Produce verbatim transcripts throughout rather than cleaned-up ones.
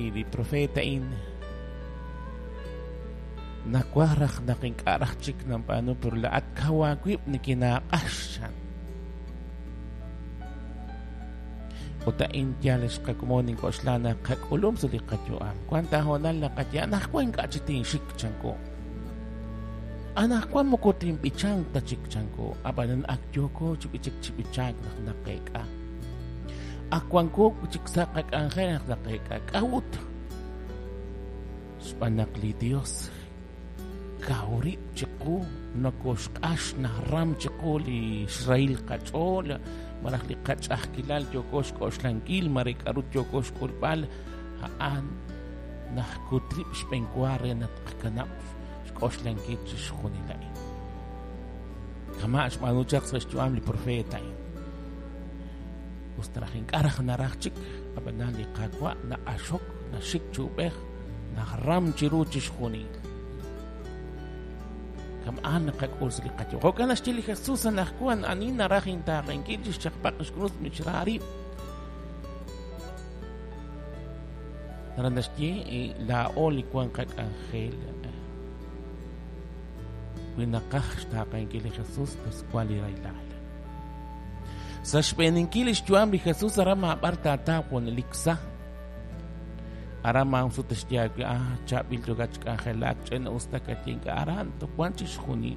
li li profeet a'in nawaj raj naq ink'a' raj chik nanb'aanu pero laa'at kaw aawib' nikinaaq'ax chan. Ut a'in yal xqakomon ink'oxla naq qak'ulum sa' li qayu'am. Wan ta hoonal naqaye anaqwan ink'a' chi tinxik chanko. Anaqwan moko tinb'ichank ta chik chanko. Ab'anan ak yooko chi b'ichik chi b'ichank naq naqeek'a. Ak wanko chik sa' qak'anjel naq naqeek'a. K'a'ut? Xb'aan naq li Dios kaw rib' chiqu nokoxq'ax naram chiqu li xrahil qach'ool malaj li qach'ajkilal yooko xk'oxlankil mare k'aru yooko xk'ulb'al a'an najkut rib' xb'enwa re naq tqakanab' xk'oxlankil chixjunil a'in. Kama' xb'aanu chaq sa' xyu'am li profeet a'in. Us ta raj ink'a' raj naraj chik ab'anan li Qaawa' naq'axok naxik chi ub'ej najram chiru chixjunil. Kama'an naqak'ul sa' li qayu'am. Jo'kan naxye li Jesus anaqwan ani naraj intaaqenkil chixchaqpaq xkrus mixra rib'. Naraj naxye laa'o li wan qak'anjel. Wi naqaj xtaaqenkil li Jesus pues wan li rahilal. Sa' xb'eeninkil li xyu'am li Jesus aran maab'ar taataw junelik sa. Aran maa'un sut xye aawe ah chaab'il yokat xk'anjelak ch'ina us ta kaye ink'a' aran wan chixjunil.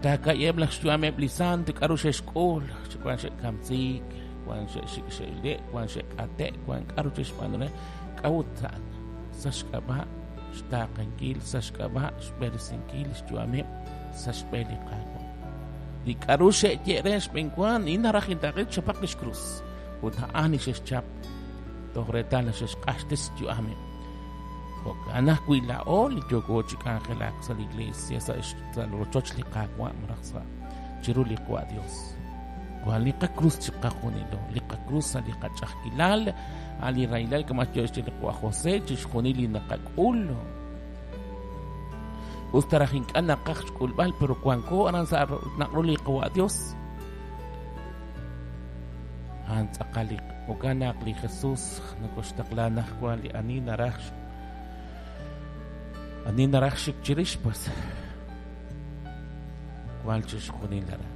Taaka'yeb' laj xyu'ameb' li sant k'aru xe'xk'ul wan xe'kamsiik wan xe'xik xe'ile' wan xe'k'ate' wan k'aru xe'xb'aanu re k'a'ut a'an sa' xk'ab'a' xtaaqenkil sa' xk'ab'a' xb'eresinkil xyu'ameb' sa' xb'een li Qaawa'. Li k'aru xe'ye re xb'enwan in naraj intaaqe chapaq li xkrus ut a'an li xe'xchap toj reetal xe'xq'axtes xyu'ameb'. Jo'kan ajwi' laa'o li yooko chi k'anjelak sa' li iglesia sa' sa' rochoch li Qaawa' malaj sa' chiru li Qaawa' Dios. Wan li qakrus chiqajunilo, li qakrus sa' li qach'ajkilal, a' li rahilal kama' yo xye li Qaawa' José chixjunil li naqak'ul. Us ta raj ink'a' naqaj xk'ulb'al pero wanko aran sa' naqru li Qaawa' Dios. A'an tz'aqal li jo'kan naq li Jesus nokoxtaqla najwan li ani naraj ani naraj xik chirix pues wan chixjunil aran.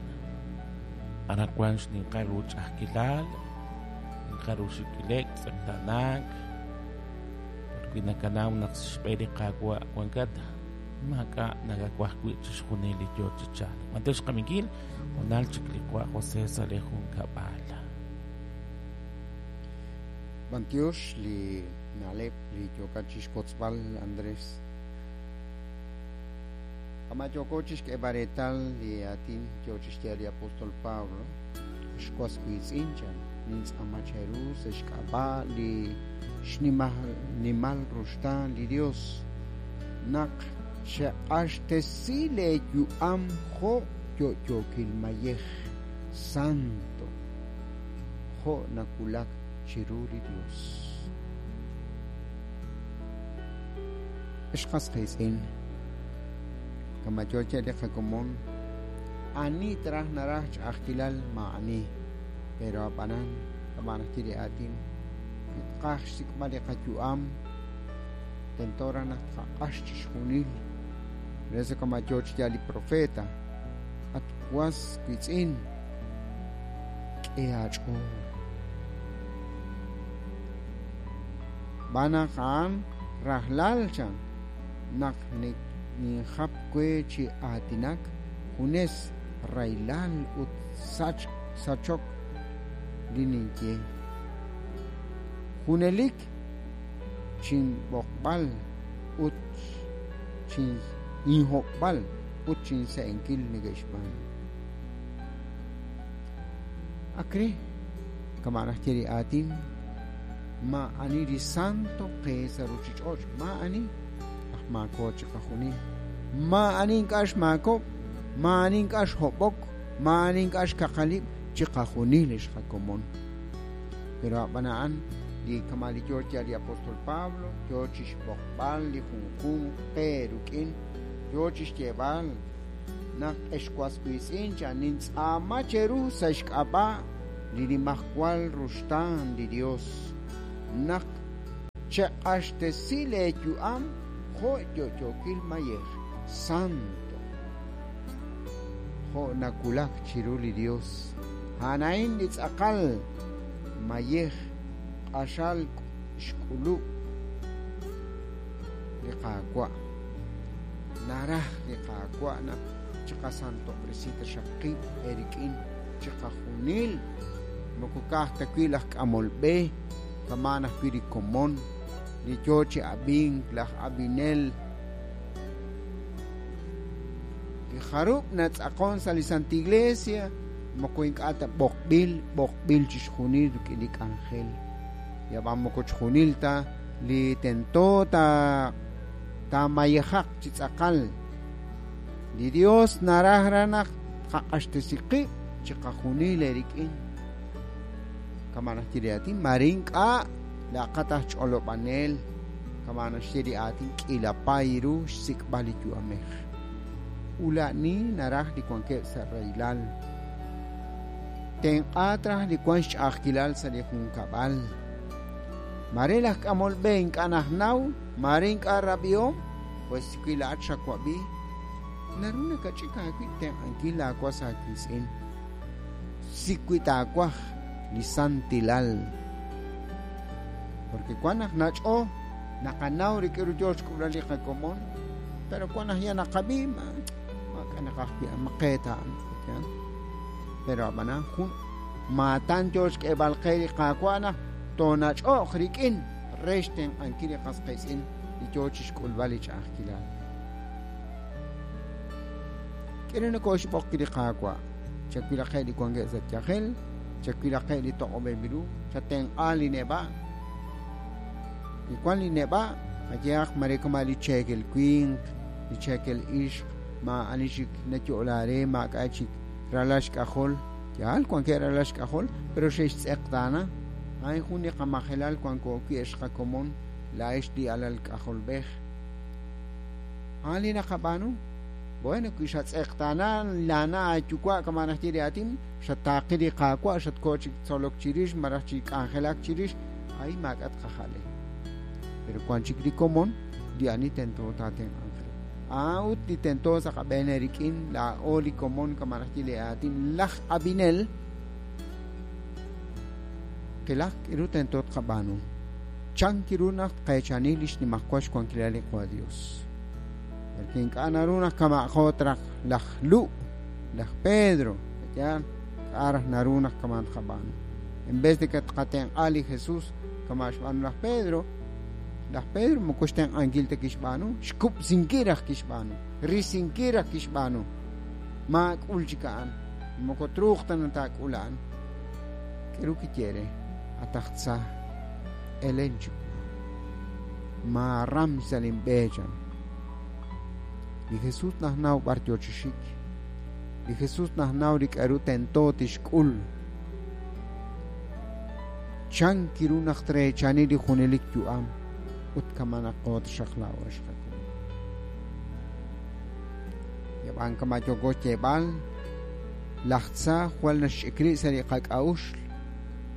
Aran wan xninqal ru ch'ajkilal, ninqal ru xik'ilek, tz'eqtaanaak. Wi nakanaw naq xb'een li Qaawa' wankat maak'a' nakawaj wi' chixjunil li yoo chi chalk. B'antiox xqaminkil honal chik li Qaawa' José sa' li junkab'al. B'antiox li na'leb' li yookat chixkotzb'al Andrés. Kama yooko chixk'eeb'al reetal li aatin yoo chixye li apóstol Pablo xwas wiitz'in chan nintz'aama cheru sa' xk'ab'a' li xnimal nimal ruxtaan li Dios naq xeq'axtesi leeyu'am jo' yo'yookil mayej santo jo' nakulak chiru li Dios. Xqas qiitz'in kama yoo che li qakomon ani traj naraj ch'ajkilal ma'ani pero ab'anan kama najye li aatin tqaj xsik'b'al li qayu'am tento raj naq tqaq'ax chixjunil reso kama yoo chi li profeta at was wiitz'in k'e aach'ool b'anaq a'an rajlal chan naq ninjap we chi aatinak junes rahilal ut sach sachok li ninye junelik chinb'oqb'al ut chin inhob'al ut chinse'enkil neke'xb'aanu. Akre kama najye li aatin ma'ani li santo qe sa' ruchich'och' ma'ani aj maako chiqajunil ma'ani ink'a' xmaakob' ma'ani ink'a' xhob'ok ma'ani ink'a' xkaqalib' chiqajunil xqakomon. Pero ab'an a'an li kama li yoo chi li apóstol Pablo yoo chixb'oqb'al li junjunq qe ruk'in yoo chixyeeb'al naq exwas wiitz'in chan nintz'aama cheru sa' xk'ab'a' li nimajwal ruxtaan li Dios naq Cheq'axtesi leeyu'am jo' yo'yookil mayej santo jo' nakulak chiru li Dios. A'an li tz'aqal mayej q'axal xk'ulub' li Qaawa'. Naraj li Qaawa' naq chiqasantob'resi taxaq qib' erik'in chiqajunil moko ka'aj ta wi' laj k'amol b'e kama' ajwi' li komon li yoo chi ab'ink laj ab'inel li jarub' natz'aqon sa' li Santa Iglesia moko ink'a' ta b'oqb'il b'oqb'il chixjunil rik'in li k'anjel yab'an moko chixjunil ta li tento ta taamayejaq chi tz'aqal li Dios naraj ra naq tqaq'axtesi qib' chiqajunil erik'in kama' naxye li aatin mare ink'a' laqat aj ch'olob'anel kama' naxye li aatin k'iila paay ru xsik'b'al li yu'amej ula'ni naraj li wankeb' sa' rahilal tenq'aat raj li wan xch'a'ajkilal sa' li junkab'al mare laj k'amol b'e ink'a' najnaw mare ink'a' rab'ihom pues wi la'at xawab'i naru nakach'ik aawib' tenq'ankil laawas aawiitz'in sik wi taawaj li santilal porque wan naq nach'o naqanaw rik'in ru yoo xk'ub'lal li qakomon pero wan naq ya naqab'i ma maak'a' naqaj wi' maqeet a'an pero ab'anan jun maatan yoo xk'eeb'al qe li Qaawa' naq toonach'o'q rik'in re xtenq'ankil li qas qiitz'in li yoo chixk'ulb'al li ch'a'ajkilal. K'e nakooxb'oq li Qaawa' chawilaqe' li wankeb' sa' yajel chawilaqe' li toq'ob'eb' ru chatenq'a li neb'a' li wan li neb'a' qayehaq mare kama' li cheekel winq li cheekel ixq maa'ani chik nayo'la re maak'a' chik ralal xk'ajol yaal wankeb' ralal xk'ajol pero xe'xtz'eqtaana a'in jun li qamajelal wanko wi' ex qakomon la'ex li alal k'ajolb'ej a'an li naqab'aanu bueno wi xatz'eqtaana lana aayuwa' kama' naxye li aatin xataaqi li Qaawa' xatkoo chik tzolok chirix malaj chi k'anjelak chirix ay maak'a' tqajale pero wan chik li komon li ani tento taatenq'anq re a'ut li tento sa' qab'een rik'in laa'o li komon kama' naxye li aatin laj ab'inel qilaj k'iru tento tqab'aanu chan kiru naq tqeechani li xnimajwal xwankilal li Qaawa' Dios porque ink'a' naru naq kama'jo traj laj Lu' laj Pedro yaal k'a' raj naru naq kama' tqab'aanu en vez de que tqatenq'a li Jesús kama' xb'aanu laj Pedro laj Pedro moko xtenq'ankil ta kixb'aanu xkub'sinkil raj kixb'aanu risinkil raj kixb'aanu maak'ul chik a'an moko truuq ta nataak'ul a'an k'iru kiye re atajtza elen chiwu maaram sa' linb'e chan li Jesús najnaw b'ar yoo chi xik li Jesús najnaw li k'aru tento tixk'ul chan kiru naq treechani li junelik yu'am ut kama' naqo taxaq laa'o ex qakomon yab'an kama' yooko xyeeb'al laj tza jwal naxch'ik rib' sa' li qak'a'uxl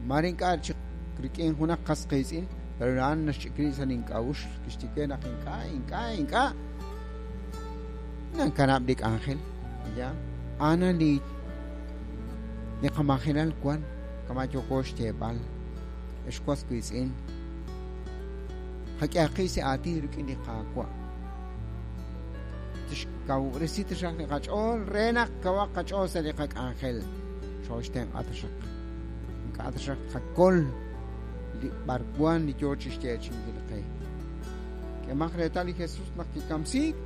mare ink'a' chik rik'in junaq qas qiitz'in pero a'an naxch'ik rib' sa' link'a'uxl kixye naq ink'a' ink'a' ink'a' nankanab' li k'anjel ya ana li li qamajelal wan kama' yooko xyeeb'al ex was wiitz'in qak'ehaqi sa' aatin rik'in li Qaawa' tixkawresi taxaq li qach'ool re naq kawaq qach'ool sa' li qak'anjel xooxtenq'a taxaq ink'a' taxaq qakol li b'arwan li yoo chixyeechinkil qe k'emaq reetal li Jesús naq kikamsiik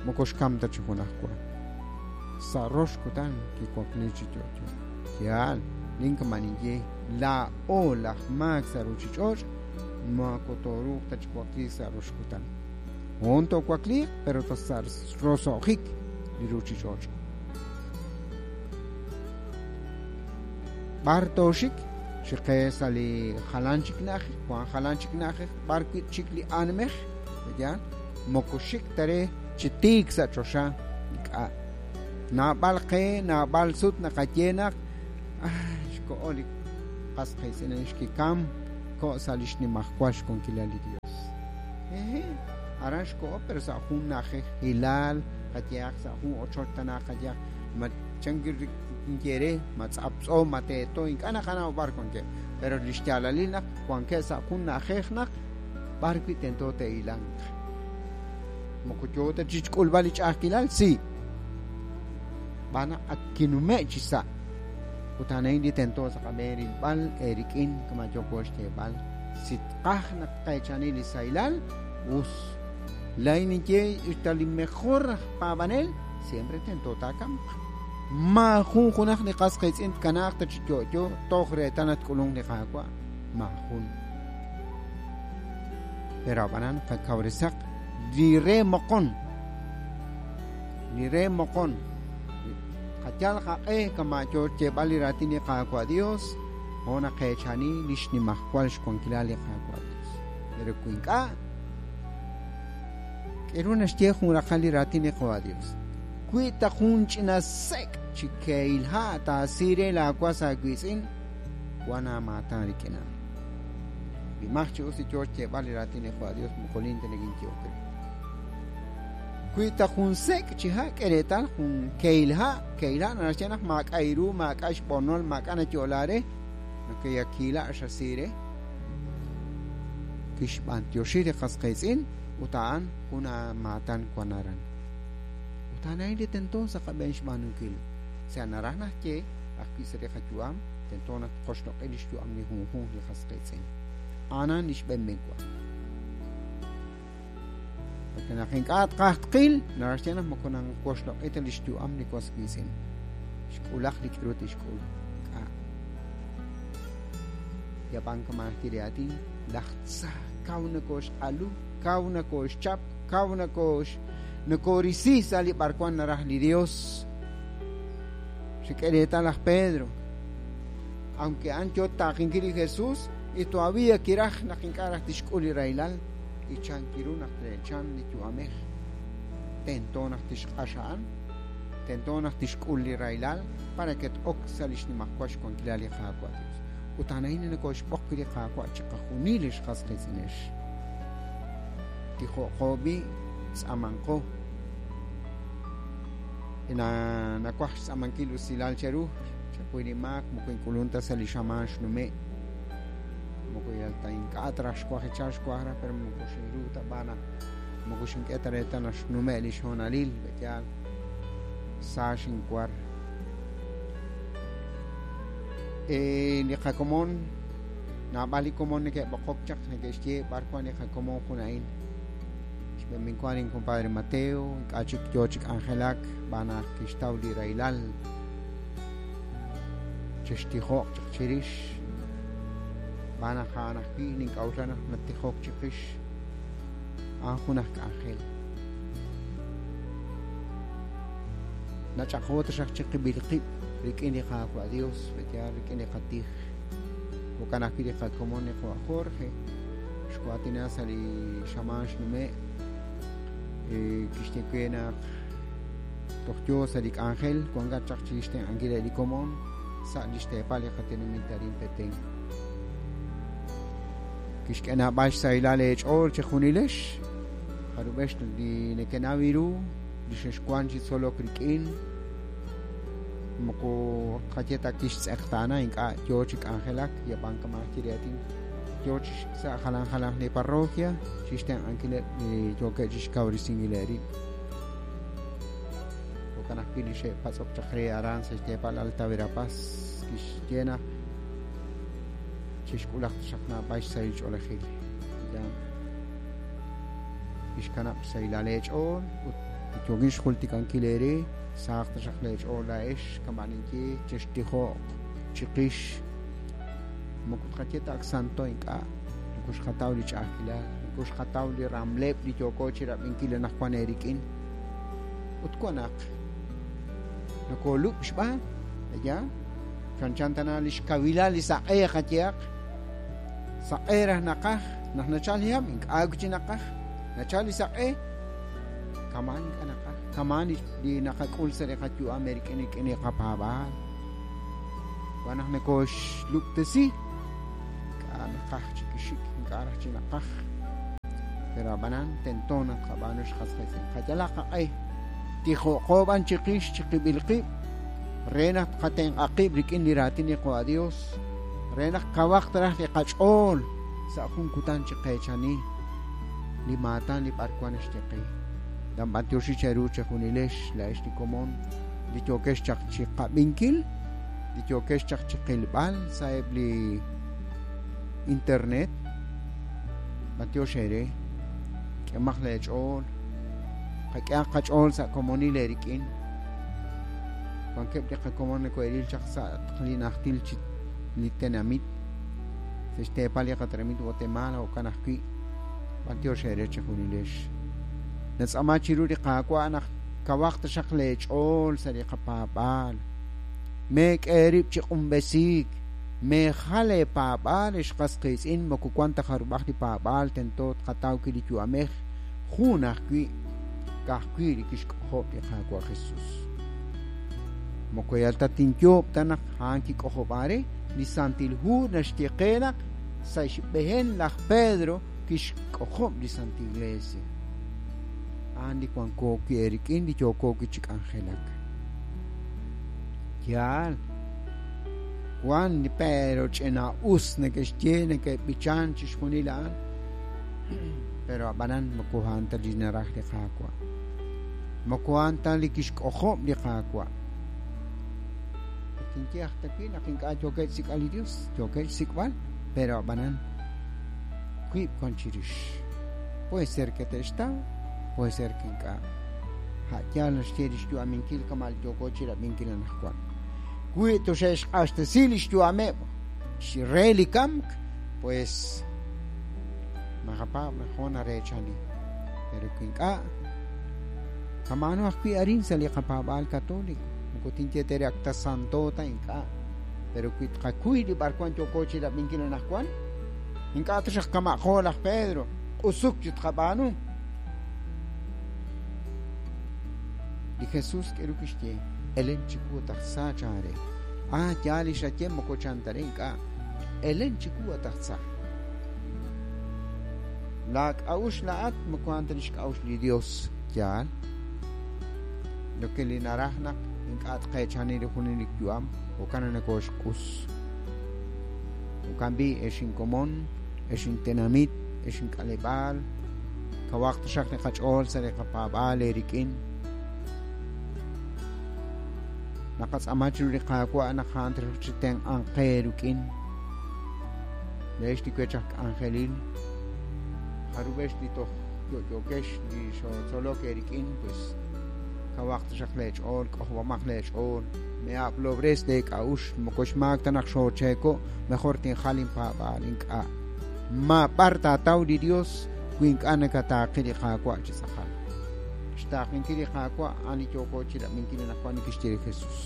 moko xkam ta chi junaj wa sa' rox kutan kiwakli chi yo'yo yaal ninkama' ninye laa'o laj maak sa' ruchich'och' moko tooruuq ta chi wakliik sa' rox kutan hoon toowakliiq pero ta sa' roso'jik li ruchich'och' b'ar tooxik xiqe sa' li jalan chik na'ajej wan jalan chik na'ajej b'ar wi' chik li aanmej yaal moko xik ta re chi tiik sa' choxa ink'a' naab'al qe naab'al sut naqaye naq xko'o li qas qiitz'in xkikam xko' sa' li xnimajwal xwankilal li Dios. Eje, aran xko'o pero sa' jun na'ajej hilal, qayehaq sa' jun ochoch tana qayehaq, ma chankir kinyere, ma tz'aptz'o, ma teeto, ink'a' naqanaw b'ar wankeb'. Pero li xyaalalil naq wankeb' sa' jun na'ajej naq b'ar wi' tento te'ilanq. Moko yoo ta chixk'ulb'al li ch'a'ajkilal, si. B'ana ak kinume' chi sa'. Ut a'an li tento sa' qab'een rilb'al erik'in kama yooko xyeeb'al. Si tqaj naq tqeechani li sahilal, us. Laa'in ninye ta li mejor aj paab'anel, siempre tento taakamq. Maajun junaq li qas qiitz'in tkanaaq ta chi yo'yo toj reetal naq tk'ulunk li Qaawa'. Maajun. Pero ab'anan qakawresaq li re moqon. Li re moqon. Qayal qaq'e kama yoo xyeeb'al li raatin li Qaawa' Dios, jo' naqeechani li xnimajwal xwankilal li Qaawa' Dios. Pero wi ink'a', k'eru naxye jun raqal li raatin li Qaawa' Dios. Wi ta jun ch'ina sek' chi kehil ha' taasire laawas aawiitz'in, wan aamaatan rik'in a'an. Bimaj chi us li yoo xyeeb'al li raatin li Qaawa' Dios, moko lin ta nekinyehok re. Wi ta jun sek' chi ha' k'e reetal jun kehil ha', kehil ha' naxye naq maak'a' iru, maak'a' xb'onol, maak'a' nayo'la re, nakeyakiila' xasire. Kixb'antioxi li qas qiitz'in ut a'an jun aamaatan wan aran. Ut a'an li tento sa' qab'een xb'aanunkil. Sa' naraj naxye ajwi' sa' li qayu'am, tento naq tqoxloq'i li xyu'am li junjunq li qas qiitz'in. A'anan li xb'een b'enwa. Porque naq ink'a' tqaj tqil, naraj xye naq moko nanqoxloq'i ta li xyu'am li was qiitz'in. Xk'ulaq li k'aru tixk'ul. Ink'a'. Yab'an kama naxye li aatin, laj tza kaw nakoxq'alu, kaw nakoxchap, kaw nakox nakorisi sa' li b'arwan naraj li Dios. Xik'e reetal laj Pedro. Aunque a'an yoo taaqinkil li Jesús, y todavía kiraj naq ink'a' raj tixk'ul li rahilal, y chankiru naq trechan li yu'amej. Tento naq tixq'ax a'an, tento naq tixk'ul li rahilal para que t-ok sa' li xnimajwal xwankilal li Qaawa' Dios. Ut a'an a'in nakoxb'oq li Qaawa' chiqajunil li xqas qiitz'inex. Tijo'qo b'i' tz'amanqo. Na nakuaj xtz'amankil usilal cheru, chakuy li maak moko ink'ulunta sa' li xamaan xnume'. Moko yal ta ink'a' traj xkuaj echar xkuaj raj, pero moko xinru ta b'ana. Moko xink'e ta reetal naq xnume' li xhoonalil, b'etyal sa xinkuar. Eh, li qakomon, naab'al li komon neke'b'oqok chaq neke'xye b'ar wan li qakomon jun a'in. Xb'een minkuan in compadre Mateo, ink'a' chik yoo chi k'anjelak, b'anaq kixtaw li rahilal. Chextijo'q chaq chirix. B'anaq a'an ajwi' nink'a'uxla naq natijok chiqix. A'an jun aj k'anjel. Nach'aqo taxaq chiqib'il qib' rik'in li Qaawa' Dios, b'etyal rik'in li qatij. Jo'kan ajwi' li qakomon li Qawa' Jorge, xwaatina sa' li xamaan xnume', eh, kixye we naq toj yoo sa' li k'anjel, wankat chaq chi xtenq'ankil li komon sa' li xteepal li qatenamit arin Petén. Kixk'e naab'al xsahilal eech'ool chejunilex, jarub'ex li nekenaw iru, li xexwan chi tzolok rik'in, moko qaye ta kixtz'eqtaana ink'a' yoo chi k'anjelak, yab'an kama naxye li aatin, yoo chi sa' jalan jalan li parroquia, chi xtenq'ankileb' li yookeb' chi xkawresinkil eerib'. Jo'kan ajwi' li xe'patz'ok chaq re aran sa' xteepal Alta Verapaz, kixye naq chixk'ulaq taxaq naab'al xsahil ch'oolejil. Ya. Kixkanab' xsahilal eech'ool ut yookin xjultikankil eere, sahaq taxaq leech'ool laa'ex kama ninye chextijo'q chiqix. Moko tqaye ta ak santo ink'a', moko xqataw li ch'a'ajkilal, moko xqataw li ramleb' li yooko chirab'inkil anaqwan eerik'in. Ut wan naq nokoolub' xb'aan, ya, chanchan tana li xkawilal li saq'e qayehaq. Saq'e raj naqaj, naq nachal li hab', ink'a' wi' chi naqaj, nachal li saq'e, kamaan ink'a' naqaj, kamaan li naqak'ul sa' li qayu'am eerik'in rik'in li qapaab'aal. Wan naq nakoxlub'tesi, Naqaj chi kixik ink'a' raj chi naqaj pero ab'anan tento naq qab'aanu xqas qiitz'in qayalaq qaq'e tijo'qo b'an chiqix chiqib'il qib' re naq qatenq'aqib' rik'in li raatin li Qawa Dios re naq kawaq taraj li qach'ool sa' jun kutan chiqeechani li maatan li b'arwan naxye qe danb'antioxi cheru chejunilex la'ex li komon li yookex chaq chiqab'inkil li yookex chaq chiqilb'al sa'eb' li internet b'antiox eere k'emaq leech'ool qak'ehaq qach'ool sa' komonil eerik'in wankeb' li qakomon nako'eril chaq sa' li najtil chi li tenamit sa' xteepal li qatenamit Guatemala jo'kan ajwi' b'antiox eere chejunilex natz'ama chiru li Qaawa' naq kawaq taxaq leech'ool sa' li qapaab'aal meek'e rib' chi q'unb'esiik meejal eepaab'aal ex qas qiitz'in moko wan ta jarub'aj li paab'aal tento tqataw wi' li yu'amej jun ajwi' ka'ajwi' li kixk'ojob' li Qaawa' Jesús moko yal ta tinyoob' ta naq a'an kik'ojob'aare li Santil Hu naxye qe naq sa' xb'ehen laj Pedro kixk'ojob' li Santa Iglesia a'an li wanko wi' eerik'in li yooko wi' chi k'anjelak yaal wan li pero ch'ina us neke'xye neke'b'ichan chixjunil a'an pero ab'anan moko a'an ta li naraj li Qaawa' moko a'an ta li kixk'ojob' li Qaawa' tinye aj ta wi' naq ink'a' yookeb' xsik'b'al li Dios yookeb' xsik'b'al pero ab'anan wiib' wan chirix puede ser que te'xtaw puede ser que ink'a' a' yaal naxye li xyu'aminkil kama' li yooko chirab'inkil anaqwan wi' toxe'xq'axtesi li xyu'ameb' re li kamk pues naqapaab' naq jo' nareechani pero wi ink'a' kama'ano ajwi' arin sa' li qapaab'aal católico moko tinye tere ak ta santo ta ink'a' pero wi tqakuy li b'arwan yooko chirab'inkil anaqwan ink'a' taxaq kama'jo laj Pedro q'usuk chi tqab'aanu li Jesús k'eru kixye elen chiwu tajsa chaare ah yaal li xaye moko chantare ink'a' elen chiwu tajsa la k'a'uxl la'at moko a'an ta li xk'a'uxl li Dios yaal lo que li naraj naq ink'a' tqeechani li junelik yu'am jo'kan nakoxq'us jo'kan b'i' ex inkomon ex intenamit ex ink'aleb'aal kawaq taxaq li qach'ool sa' li qapaab'aal eerik'in naqatz'ama chiru li Qaawa' naq a'an taxaq chi tenq'anq qe rik'in leex li wech aj k'anjelil jarub'ex li toj yo'yo'kex li xotzolok eerik'in pues kawaq taxaq leech'ool k'ojob'amaq leech'ool me'ab'lob'res leek'a'uxl moko xmaak ta naq xoocheeko mejor tinjal inpaab'aal ink'a' ma b'ar taataw li Dios wi ink'a' nakataaqi li Qaawa' chi tz'aqal xtaaqinkil li Qaawa' a'an li yooko chirab'inkil anaqwan li kixye li Jesús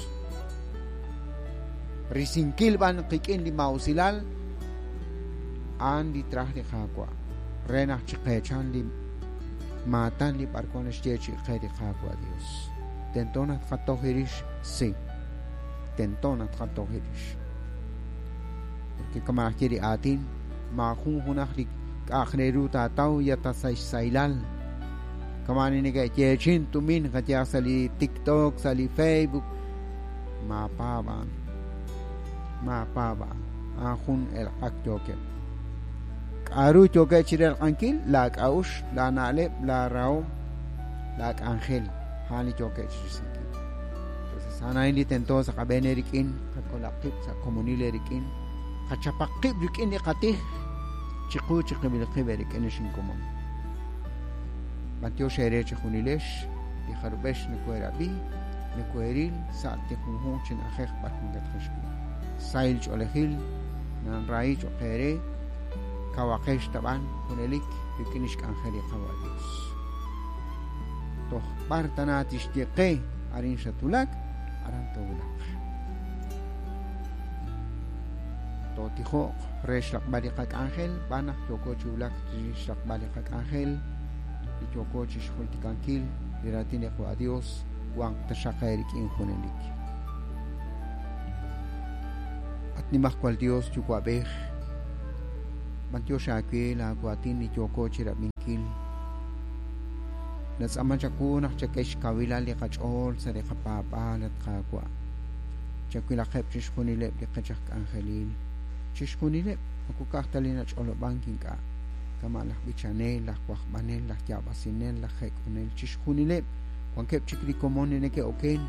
risinkil b'an qik'in li ma'usilal a'an li traj li Qaawa' re naq chiqeechan li maatan li b'arwan naxye chi qe li Qaawa' Dios tento naq tqatoj rix sí tento naq tqatoj rix porque kama naxye li aatin maajun junaj li k'a'aj re ru taataw ya ta sa' xsaylal kama ni neke'yeechin tumin qayaj sa' li TikTok sa' li Facebook maapaab'an maapaab'an a'an jun elq'ak yookeb' k'a'ru yookeb' chirelq'ankil la k'a'uxl la na'leb' la rahom la k'anjel a'an li yookeb' chirisinkil entonces a'an a'in li tento sa' qab'een eerik'in qakolaq qib' sa' komonil eerik'in qachapaq qib' rik'in li qatij chiqu chiqib'il qib' eerik'in ex inkomon b'antiox eere chejunilex li jarub'ex nakoherab'i nakoheril sa' li junjunq chi na'ajej b'ar wankatqex wi' sahil ch'oolejil nanrahi cho'q eere kawaqex tab'an junelik rik'in xk'anjel li Qawa' Dios toj b'ar tana tixye qe arin xatwulak aran toowulaq tootijo'q re xraqb'al li qak'anjel b'an naq yooko chi wulak chi xraqb'al li qak'anjel li yooko chi xjultikankil li raatin li Qawa' Dios wanq taxaq eerik'in junelik at nimajwal Dios yuwa'b'ej B'antiox aawe laawaatin li yooko chirab'inkil. Natz'aama chawu naq chak'e xkawilal li qach'ool sa' li qapaab'aal at Qaawa'. Chawilaqeb' chixjunileb' li qech aj k'anjelil. Chixjunileb' moko ka'aj ta li nach'olob'ank ink'a'. Kama' laj b'ichanel, laj wajb'anel, laj yaab'asinel, laj jek'onel, chixjunileb' wankeb' chik li komon li neke'oken.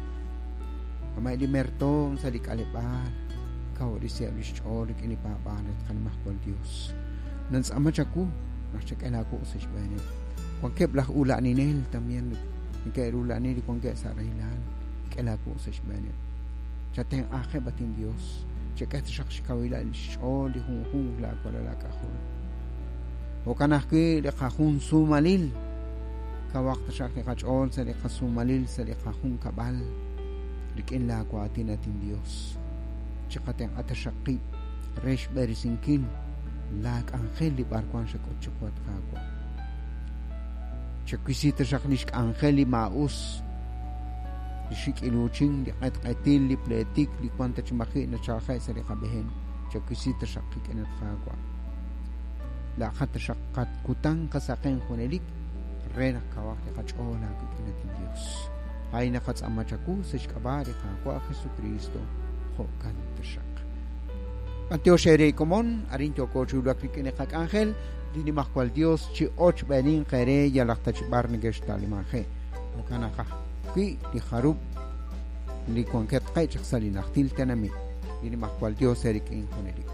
Kama' li mertoom sa' li k'aleb'aal, kawresiheb' lix ch'ool rik'in li paab'aal at Qanimajwal Dios. Nantz'aama chawu naq chak'e laawuq' sa' xb'eeneb'. Wankeb' laj ula'ninel también neke'rula'ni li wankeb' sa' rahilal, k'e laawuq' sa' xb'eeneb'. Chatenq'ajeb' at Dios, chak'e taxaq xkawilal xch'ool li junjunq laawalal aak'ajol. Jo'kan ajwi' li qajun sumalil, kawaq taxaq li qach'ool sa' li qasumalil sa' li qajunkab'al rik'in laawaatin at Dios. Chiqatenq'a taxaq qib' re xb'eresinkil laak'anjel li b'arwan xak'ut chiqu at Qaawa'. Chawisi taxaq li xk'anjel li maa'us, li xik'iluchin, li q'etq'etil, li pletik, li wan ta chi maji' nachalje' sa' li qab'ehen. Chawisi taxaq qik'in at Qaawa'. Laaqat taxaq qatkutan qasaqen junelik re naq kawaq li qach'ool aawik'in at Dios. Ay naqatz'aama chawu sa' xk'ab'a' li Qaawa' Jesucristo. Jo'kan taxaq. B'antiox ere komon, arin yooko chiwulak rik'in li qak'anjel, li Nimajwal Dios chi ochb'enin qere yalaq ta chi b'ar neke'xtalimaje. Jo'kan naq ajwi' li jarub' li wankeb' qe chaq sa' li najtil tenamit. Li Nimajwal Dios erik'in junelik.